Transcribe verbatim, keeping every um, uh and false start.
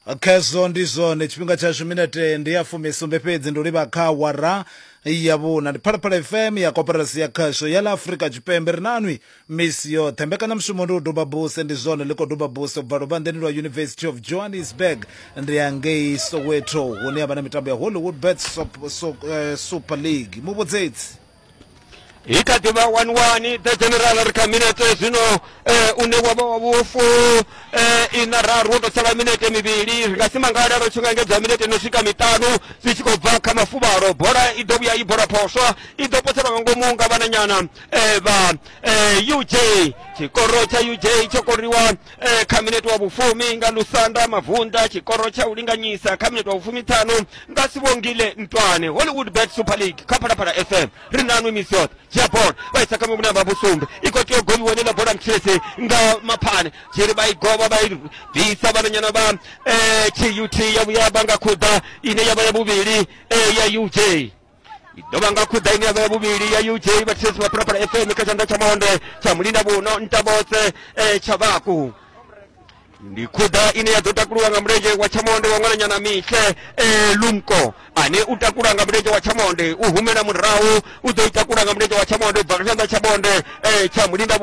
Khezwo ndi zwone, tshifhinga tshashu minete ndi ya fumisumbe fhedzi ndi u livha kha awara ya vhuna. Ndi Phalaphala F M ya Koporasi ya Khasho ya ḽa Afrika Tshipembe, ri nanwi misi yoṱhe. Mbekanyamushumo ndi u duba buse, ndi zwone ḽi khou duba buse u bva luvhanḓeni lwa University of Johannesburg, ndi ya ngei Soweto hune ya vha na mitambo ya Hollywood Bets Super League. Muvhudzedzi. I kha ḓi vha one one, the general. Ri kha minete zwino eh, une wa vha wa vhufu eh, ina raru, wo tou sala minete mivhili. Ri nga si mangale ro tshi nga engedza minete no swika miṱanu zwi tshi khou bva kha mafuvhalo. Bola i ḓo vhuya i bola phoswa, i ḓo poselwa nga ngomu nga vhananyana eh, vha eh, U J. Tshikoro tsha U J tsho koriwa eh, kha minete wa vhufumi nga Lusanda Mavunda, tshikoro tsha u linganyisa kha minete wa vhufumiṱhanu nga Sibongile Ntwane. Hollywood Bet Super League kha Phalaphala F M, ri nanwi misi yoṱhe. Dzhia bola, vha isa kha muvhune vha vhusumbe, i khou tea u govhiwa heneiḽa bola mtshilesi nga Maphane tshiri, vha i govha, vha i bvisa vhananyana vha eh, T U T. Ya vhuya vha nga khuḓa ine ya vha ya vhuvhili eh, ya U J, i ḓo vha nga khuḓa ine ya vha ya vhuvhili ya U J. Vhathetshelesi vha Phalaphala F M, kha tshanḓa tsha monde tsha mulinda vhuno Ntabotse eh, Tshavhaku, ndi khuḓa ine ya ḓo takuluwa nga mulenzhe wa tshamonde wa ṅwananyana Mihle eh, Lumko, ane u takula nga mulenzhe wa tshamonde, u humela murahu, u ḓo i takula nga mulenzhe wa tshamonde u bva kha tshanḓa tshamonde eh, tsha mulinda vhuno.